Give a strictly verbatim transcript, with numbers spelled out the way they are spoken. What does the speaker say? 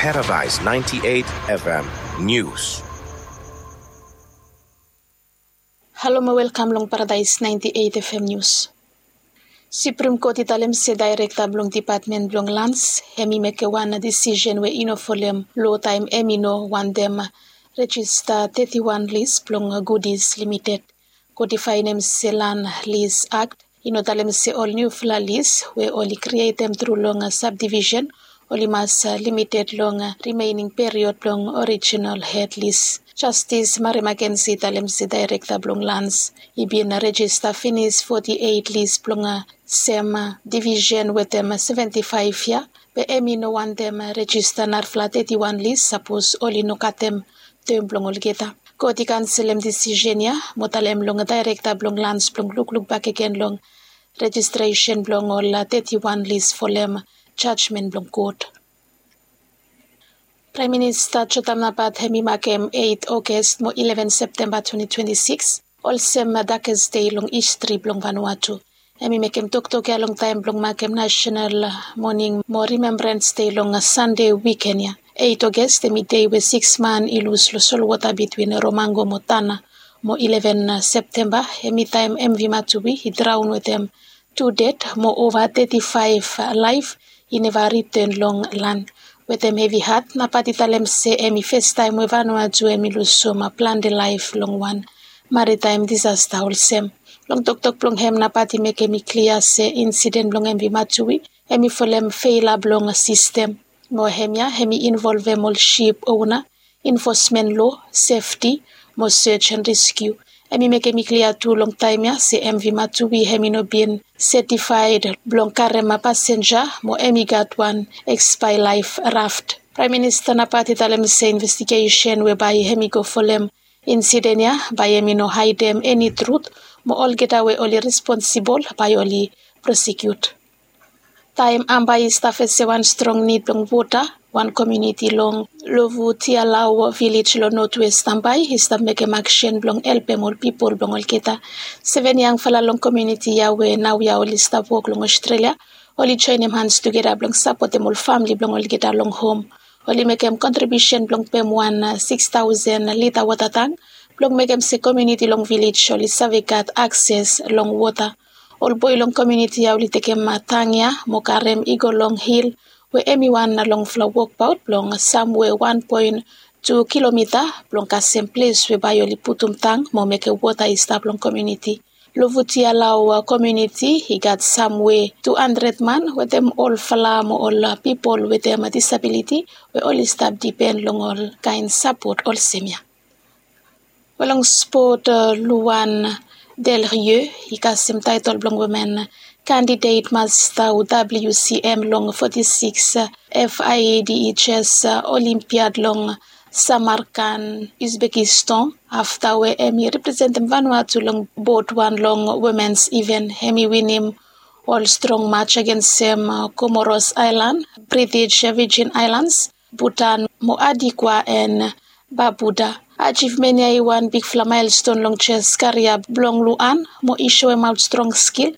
Paradise ninety-eight F M News. Halo mo welkam long Paradise ninety-eight F M News. Supreme Court i talem se daerekta blong depatmen blong lans hem i mekem wan disisen we i no folem lo taem hem i no wantem rejista teti wan lis blong Goodies Limited. Kot i faenem se Land Lease Act i no talem se ol niufala lis we oli krietem tru long sabdivisen oli mas limited long rimening period blong orijinal hed lis. Jastis Mari Makensi i talem se daerekta blong lans i bin rejista finis foti eit lis blong sem divisen wetem seventi faef yia, be hem i no wantem rejista narafala teti wan lis sapos oli no katem tem blong olgeta. Kot i kanselem disisen ya mo talem long daerekta blong lans blong lukluk bakegen long rejistresen blong ol teti wan lis folem jajmen blong kot. Praem Minista Jotam Napat hem i makem eit Oges mo ileven Septemba twenti twenti sikis olsem dakes dei long histri blong Vanuatu. Hem i mekem toktok ya long taem blong makem nasenal moning mo rimembrans dei long Sande wiken ya. Eit Oges hem i dei we sikis man i lus long solwota bitwin Romango mo Tana, mo ileven Septemba hem i taem M V Matuwi i draon wetem tu ded mo ova teti faef laef i neva riten long lan. Wetem hevi hat Napat i talem se hem i festaem we Vanuatu hem i lusum plante laef long wan maritaem disasta olsem. Long toktok blong hem Napat i mekem i klia se insiden blong M V Matuwi hem i folem feila blong sistem. Mo hemia hem i involvem ol sip ona, infosmen lo, sefti, mo sej and reskiu. Hem i mekem i klia tu long taem ya se M V Matuwi hem i no bin setifaed blong karem pasenja mo hem i gat wan ekspae laef raft. Praem Minista Napat i talem se investigesen we bae hem i go folem insiden ya bae hem i no haedem eni trut mo olgeta we oli responsibol bae oli prosekiut. Taem Ambae i stap fesem wan strong nid blong wota, wan komuniti long Lovutialau vilej long notwes Ambae i stap mekem aksen blong helpem ol pipol blong olgeta. Seven yangfala long komuniti ya we naoia oli stap wok long Australia oli joenem hans tugeta blong sapotem ol famle blong olgeta long hom. Oli mekem kontribiusen blong pem wan sikis taosen lita wota tang blong mekem se komuniti long vilej oli save gat akses long wota. Ol boe long komuniti ya oli tekem tang ya mo karem i go long hil we hem i wan longfala wokbaot blong samwe wan poen tu kilomita blong kasem ples we bae oli putum tang mo mekem wota i stap long komuniti. Lovutialau komuniti i gat samwe tu handred man wetem olfala mo ol pipol wetem disabiliti we oli stap dipen long ol kaen sapot olsem ya. Wel long spot, Luan Del Rio i kasem taetol blong women kandidet masta W C M long foti sikis F I D H S Olimpiad long Samarkand, Uzbekistan afta we hem i representem Vanuatu long bot wan long womens iven. Hem i winim ol strong maj agensem Komoros Aelan, British Virgin Aelans, Butan mo Adikwa en Babuda. Ajivmen ya i wan bigfala maelston long jes karia blong Luan mo i soemaot strong skil,